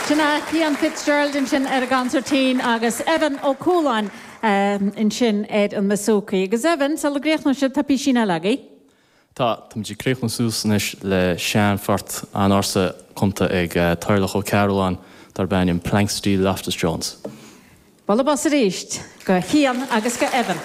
Sin é Cian Fitzgerald ansin ar an gconsairtín agus Evan Ó Cualáin ansin ar an mbouzouki. Agus Evan, sula gcríochnóidh sibh, tá písín eile agaibh. Tá, táimid ag críochnú suas anois le sean-phort an-ársa cumtha ag Toirdhealbhach Ó Cearbhalláin darb ainm Planxty Loftus Jones. Bualadh bos arís do Chian agus do Evan.